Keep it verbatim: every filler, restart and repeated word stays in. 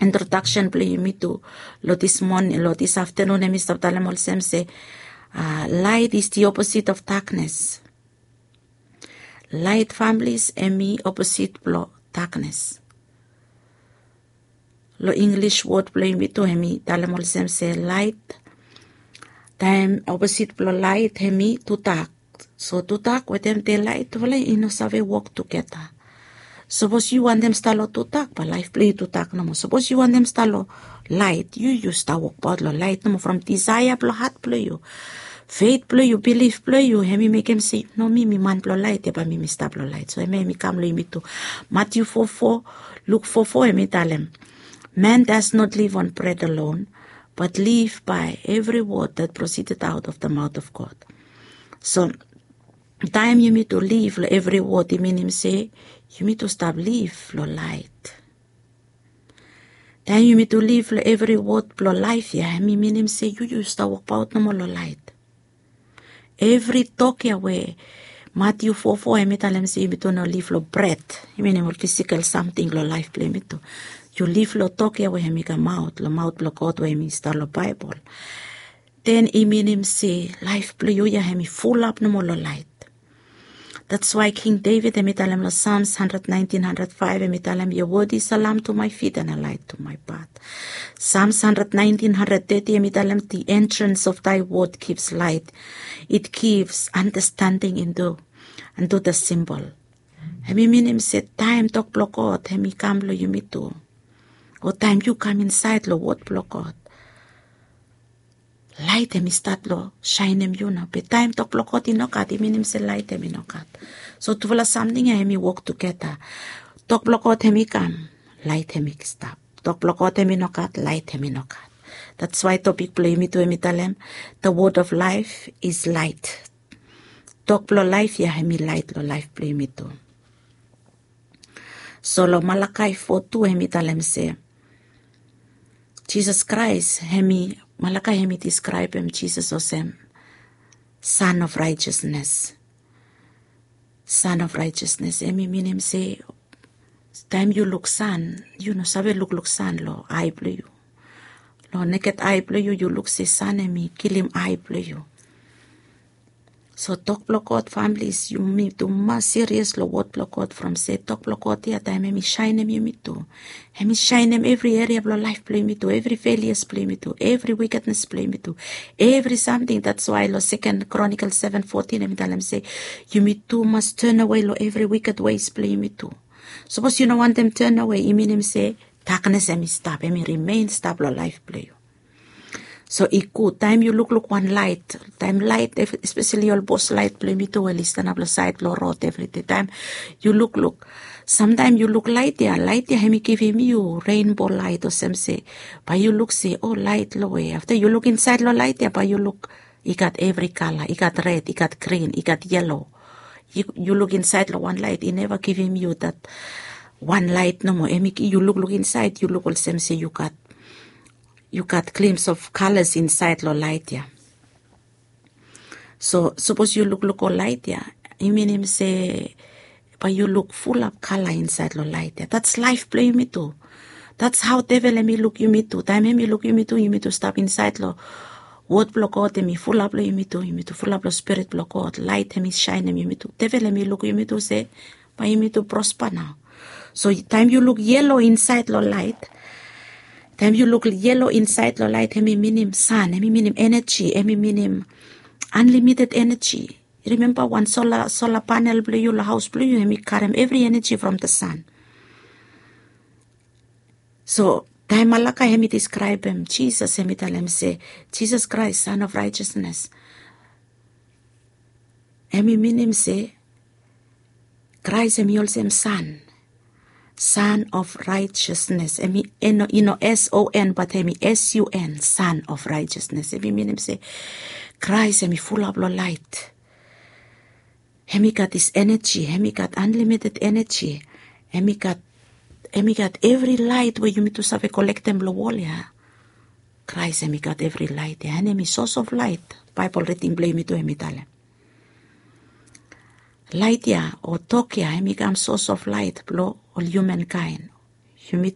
introdaksen blong yumi tu long dis moning, long dis aftanun, hemi stap talem olsem se, light is the opposite of darkness. Light, families, hemi oposit blong darkness. Long English wod blong yumi tu, hemi talem olsem se light, taem oposit blong light hemi tudak. So tudak wetem daylight, tufala i no save wok tugeta. Sapos yu wantem stap long tudak, bae laef blong yu tudak nomo. Sapos yu wantem stap long light, yu yu stap wokbaot long light nomo, from disaea blong hat blong yu, feit blong yu, bilif blong yu, hemi mekem se no, mi mi man blong light ya, bae mi mi stap long light. So hemia hemi kam long yumi tu. Matiu fo fo, Luk fo fo, hemi talem, man does not live on bread alone, but live by every word that proceeded out of the mouth of God. So taem yumi tu liv long evri wod, i minim se yumi tu stap liv long light. Taem yumi tu liv long evri wod blong laef ya, hemi minim se yu yu stap wokbaot nomo long light. Evri tok ya we Matiu fo fo hemi talem se yumi tu no liv long bred, i minim ol fisikal samting long laef blong yumi tu. Yu liv long tok ya we hemi kamaot long maot blong God, we hemi stap long Baebol. Then i minim se laef blong yu ya hemi fulap nomo long light. That's why King David hemi talem long Psalms hundred nineteen, hundred five, hemi talem, your word is a lamp to my feet and a light to my path. Psalms hundred nineteen, hundred thirty, hemi talem, the entrance of thy word gives light. It gives understanding into, unto the simple. Hemi minim se taem tok blong God hemi kam long yumi tu, o taem yu kam insaed long wod blong God, laet hemi stat long saenem yu nao. Be taem tok blong God i no gat, i minim se laet hemi no gat. So tufala samting ya hemi wok tugeta. Tok blong God hemi kam, laet hemi stap. Tok blong God hemi no gat, laet hemi no gat. That's why topik blong yumi tu hemi talem, the word of life is light. Tok blong laef ya hemi laet long laef blong yumi tu. So long Malakai fo tu hemi talem se Jisas Kraes hemi, Malakai hemi diskraebem Jisas olsem Son of Righteousness. Son of Righteousness, hemi minim se taem yu luk san, yu no save lukluk san long ae blong yu. Long neked ae blong yu, yu luk se san hemi kilim ae blong yu. So tok blong God, families, yumi tu mas serious long wod blong God, from se tok blong God ya taem hemi saenem yumi tu, hemi saenem evri eria blong laef blong yumi tu, evri failures blong yumi tu, evri wickedness blong yumi tu, evri samting. That's why long Second Chronicles seven fourteen hemi talem se yumi tu mas turn away long evri wicked ways blong yumi tu. Sapos yu no wantem turn away, i minim se darkness hemi stap, hemi remain stap long laef blong yu. So i gud taem yu lukluk wan laet, taem laet, espeseli ol bos laet blong yumi tu we oli stanap long saed blong rod evridei. Taem yu lukluk, samtaem yu luk laet ya, laet ya hemi givim yu rainbow light, olsem se bae yu luk se, o, laet long we. Afta yu luk insaed long laet ya, bae yu luk i gat evri kala, i gat red, i gat grin, i gat yelo. Yu, yu luk insaed long wan laet, i neva givim yu dat wan laet nomo. Hemi, yu lukluk insaed, yu luk olsem se yu gat, yu gat glimpse of colors insaed long laet ya. So sapos yu lukluk ol laet ya, i minim se bae yu luk fulap kala insaed long laet ya. That's laef blong yumi tu. That's how devil hemi luk yumi tu. Taem hemi luk yumi tu, yumi tu stap insaed long wod blong God, hemi fulap long yumi tu, yumi tu fulap long Spirit blong God, laet hemi saenem yumi tu. Devil hemi luk yumi tu se bae yumi tu prospa nao. So taem yu luk yelo insaed long laet, taem yu luk yelo insaed long laet, hemi minim san, hemi minim eneji, hemi minim unlimited eneji. Yu rimemba wan sola, sola panel blong yu long haos blong yu, hemi karem evri eneji from the sun. So taem Malakai hemi diskraebem Jisas, hemi talem se Jisas Kraes, Son of Righteousness, hemi minim se Kraes hemi olsem san, Son of Righteousness. Hemi, i no, i no S O N, bat hemi S U N, Son of Righteousness. Hemi minim se Kraes hemi fulap long laet. Hemi gat dis eneji, hemi gat unlimited eneji. Hemi gat, hemi gat evri laet we yumi tu save kolektem long wol ya. Kraes hemi gat evri laet ya, and hemi source of light. Baebol riding blong yumi tu hemi talem laet ya o tok ya hemi kam source of light blong ol humankind. Yumi